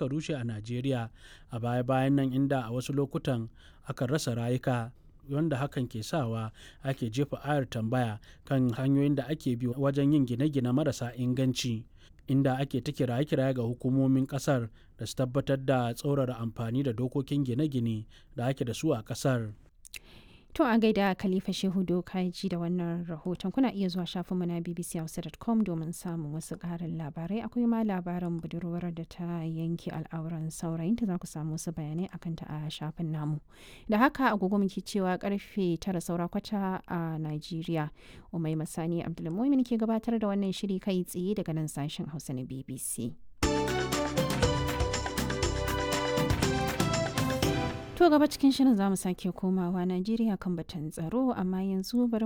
suka rushe a Najeriya a baya-bayan nan, inda a wasu lokutan akan rasa rayuka, wanda hakan ke sawa ake jefa ayar tambaya kan hanyoyin da ake bi wajen yin gine-gine marasa inganci, inda ake ta kiraye-kiraye ga hukumomin kasar da su tabbatar da tsaurara amfani da dokokin gine-gine da ake da su a kasar. To a gaida Khalifa Shehu Dokaji da wannan rahoton. Kuna iya zuwa shafinmu na bbchausa.com domin samun wasu ƙarin labarai. Akwai ma labarin budurwar da ta yanke al'auran saurayinta, za ku samu wasu bayanai akan ta a shafin namu. Da haka agogo muke cewa karfe 8:45 a Najeriya. Umai Masani Abdulmumin ke gabatar da wannan shiri kai tsaye daga nan sashen Hausa na BBC. To gaba cikin shirin za mu sake komawa Najeriya kan batun tsaro, amma yanzu bari